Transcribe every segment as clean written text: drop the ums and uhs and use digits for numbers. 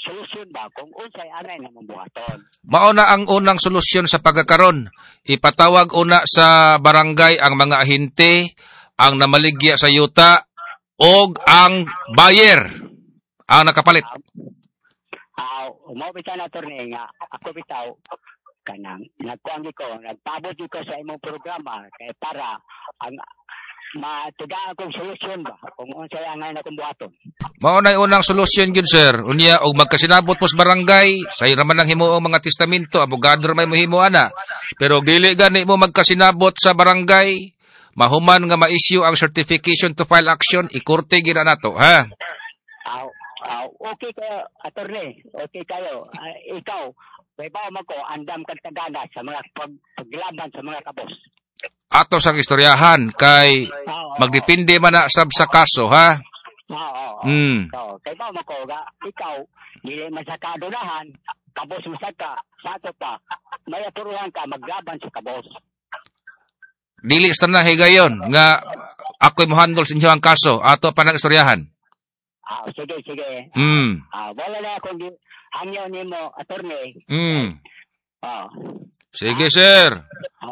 solusyon ba kung unsay anay namong buhaton. Mao na ang unang solusyon sa pagkakaron. Ipatawag una sa barangay ang mga ahente, ang namaligya sa yuta og ang buyer ang nakapalit. Mao bitaw na, attorney, nga ako bitaw kanang nagkuan ko, nagpabot ko sa imong programa kay para ang matigaan kong solusyon ba kung unsay angay na kong buhaton. Mao na unang solusyon gyud, sir. Unya og magkasinabot mo sa barangay, say ra man ang himuong mga testamento, abogado ra may mohimo ana. Pero dili gani mo magkasinabot sa barangay, mahuman nga ma-issue ang certification to file action, ikorte gyud na nato, ha? Aw, aw, okay kayo, attorney. Okay kayo. Ikaw, may man ko, andam kag tagana sa mga paglaban sa mga kabos. Ato sang istoryahan kay magdepende man na sab sa kaso, ha? Oo. Oo, kay ba man ko, ga, ikaw, dili man sa kadunahan, kabos mo sa ka, sa ato pa, may aturuhan ka maglaban sa kabos. Dili sa na higayon nga ako'y mo-handle sa inyo ang kaso, ato pa nang istoryahan. Ah, sige, sige. Wala na akong hangyo nimo, attorney. Sige, sir.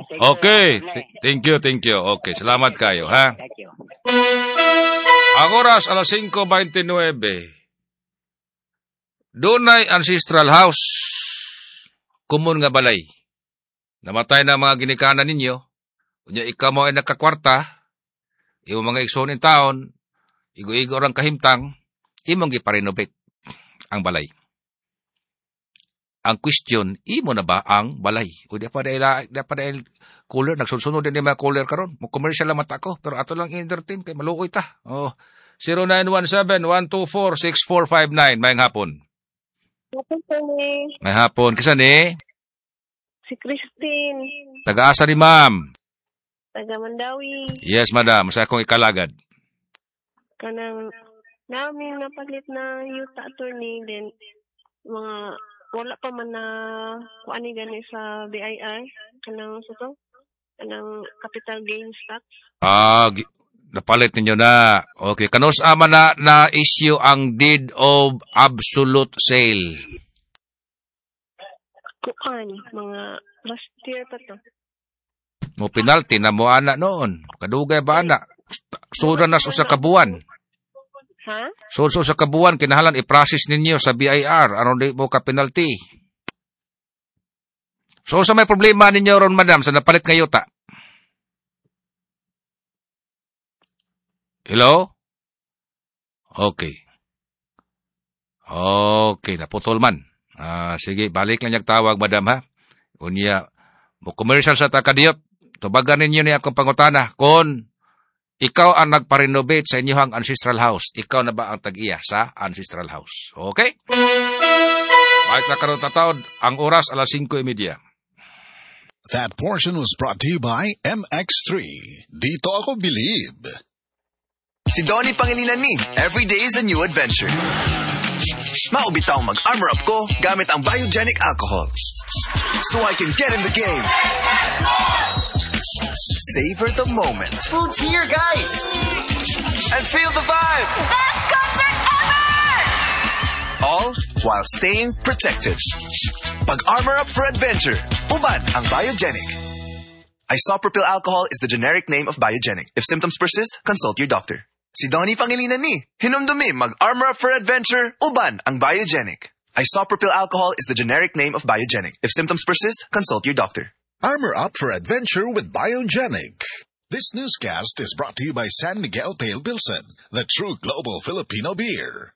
Sige, Okay. attorney. Thank you, thank you. Okay, salamat kayo, ha? Thank you. Ang oras, alas 5:29. Dunay ancestral house. Common nga balay. Namatay na mga ginikanan ninyo. Unya ikaw mo ay nagkakwarta. Imo mga igsoon in taon. Igo-igo orang kahimtang. Imong giparenovate ang balay. Ang question, imo na ba ang balay? O di pa dahil, di pa dahil cooler, nagsunod din yung mga cooler karon. Mo commercial lang mata ko, pero ato lang entertain kay maluoy ta. Oh, 0917-124-6459. Maayong hapon. Hapon po ni May hapon. Kisa ni? Si Christine, Taga-asa ni ma'am? Taga Mandawi. Yes, madam. Sa akong ikalagad. Kanang namin napalit na yuta, attorney, then mga wala pa man na kuan ni gani sa BIR kanang sa to kanang capital gains tax. Ah, napalit ninyo na. Okay. Kanus ama na na-issue ang deed of absolute sale? Kuan mga last year pa to. Mo penalty na mo ana noon. Kadugay ba ana? Sura na sa usa ka buwan. Ha? So, sa kabuan, kinahanglan i-process ninyo sa BIR aron di mo ka penalty. So, sa may problema ninyo ron, madam, sa napalit nga yuta? Hello? Okay. Okay, naputol man. Sige, balik lang niyang tawag, madam, ha? Unya, mo commercial sa takadiyot. Tubagan ninyo niya akong pangutana. Kung ikaw ang nagpa-renovate sa inyong ancestral house, ikaw na ba ang tag-iya sa ancestral house? Okay? Kahit na karoon tataod, ang oras alas 5:30. That portion was brought to you by MX3. Dito ako believe. Si Donnie Pangilinan ni, every day is a new adventure. Maubitaw mag-armor up ko gamit ang biogenic alcohol. So I can get in the game. Savor the moment. Food's here, guys! And feel the vibe! Best concert ever! All while staying protected. Pag-armor up for adventure. Uban ang Biogenic. Isopropyl alcohol is the generic name of Biogenic. If symptoms persist, consult your doctor. Si Donnie Pangilinan ni, hinumdumi mag-armor up for adventure, uban ang Biogenic. Isopropyl alcohol is the generic name of Biogenic. If symptoms persist, consult your doctor. Armor up for adventure with Biogenic. This newscast is brought to you by San Miguel Pale Pilsen, the true global Filipino beer.